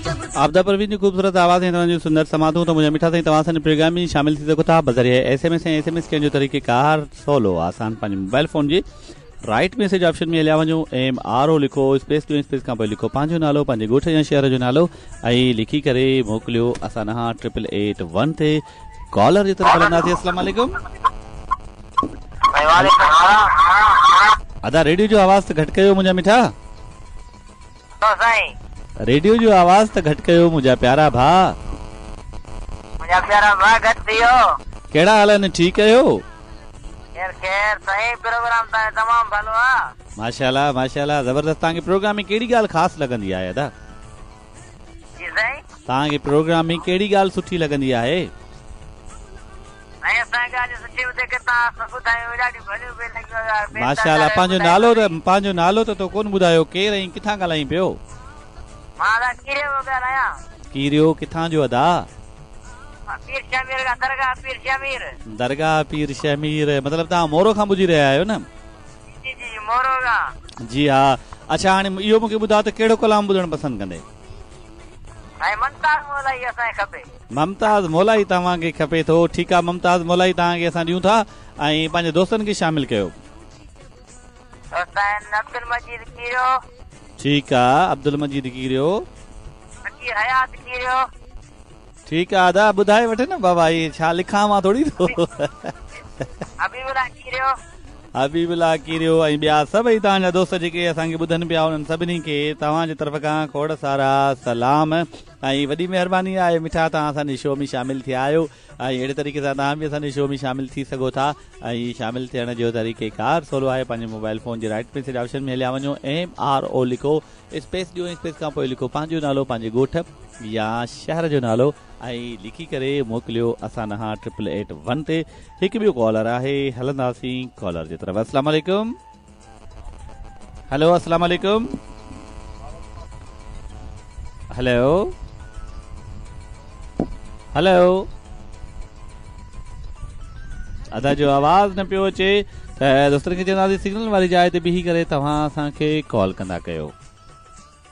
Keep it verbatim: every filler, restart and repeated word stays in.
عابده پروين جي خوبصورت آواز ۽ توهان جون سندر سماعتون ته منهنجا مٺا سائين توهان اسان جي پروگرام ۾ شامل ٿي سگهو ٿا بذريعي S M S ۽ S M S ڪرڻ جو طريقي ڪار سولو آسان پنهنجي موبائل فون جي رائٽ ميسيج آپشن ۾ هليا وڃو ايم آر او لکو اسپيس ڏيو اسپيس کان پوءِ لکو پنهنجو نالو پنهنجي ڳوٺ يا شهر جو نالو ۽ لکي ڪري موڪليو اسان ڏانهن ٽرپل ايٽ ون تي ڪالر جي طرف هلنداسين السلام عليڪم ادا ريڊيو جو آواز ته گهٽ ڪيو منهنجا مٺا سائين ريڊيو جو آواز ته گهٽ ڪيو منهنجا پيارا ڀاءُ منهنجا پيارا ڀاءُ گهٽ ٿي ويو ڪهڙا حال آهن ٺيڪ آهيو خير خير سائين پروگرام توهان جو تمام ڀلو آهي ماشاءالله ماشاءالله زبردست توهان کي پروگرام ۾ ڪهڙي ڳالهه خاص لڳندي آهي ادا جي سائين توهان کي پروگرام ۾ ڪهڙي ڳالهه سٺي لڳندي آهي سائين اسان کي ڳالهه سٺي ٻڌي ڪي توهان سڀ ٻڌايو ڏاڍيون ڀليون پئي لڳيون ماشاءالله پنهنجو نالو ته پنهنجو نالو ته تو ڪونه ٻڌايو ڪير ۽ ڪٿان ڳالهائين پيو مان ادا ڪيريو ڳالهايان ڪيريو ڪٿان جو ادا پير شهمير کان درگاهه پير شهمير درگاهه پير شهمير مطلب توهان مورو کان ٻڌي رهيا آهيو نه جي جي مورو کان جي ها اڇا هاڻي اهو مون کي ٻڌايو ته ڪهڙو ڪلام ٻڌڻ پسند ڪندي سائين ممتاز مولائي اسان کي کپي ممتاز مولائي توهان کي کپي ٿو ٺيڪ آهي ممتاز مولائي توهان کي اسان ڏيون ٿا ۽ پنهنجي دوستن کي شامل ڪيو دوست آهن عبدل مجيد ڪيريو ٺيڪ آهي عبدل مجيد ڪيريو فقير حيات ڪيريو ٺيڪ آهي ادا ٻڌائي وٺ نه بابا هي ڇا لکان مان ٿوري ٿو حبيب ڪيريو حبيب ڪيريو ۽ ٻيا سڀئي توهان جا دوست جيڪي اسان کي ٻڌن پيا انهن سڀني کي توهان جي طرف کان کوڙ سارا سلام ۽ وڏي مهرباني آهي مٺا توهان اسان جي شو ۾ شامل ٿيا آهيو ۽ اهڙي طريقي سان توهان به اسان جي شو ۾ شامل ٿي سگهو ٿا ۽ شامل ٿيڻ جو طريقي ڪار سولو آهي پنهنجي موبائل فون جي رائٽ ميسيج آپشن ۾ هليا وڃو ايم آر او لکو اسپيس ڏيو اسپيس کان پوءِ لکو پنهنجو نالو پنهنجي ڳوٺ يا شهر جو نالو ۽ لکي ڪري موڪليو اسان ڏانهن ٽرپل ايٽ ون تي هڪ ٻيو ڪالر آهي هلنداسين ڪالر جي طرف السلام عليڪم هيلو السلام عليڪم هيلو هيلو ادا جو آواز نه پيو اچي ته دوستن کي چونداسين سگنل واري جاءِ تي بيهي ڪري توهان اسان کي ڪال ڪندا ڪيو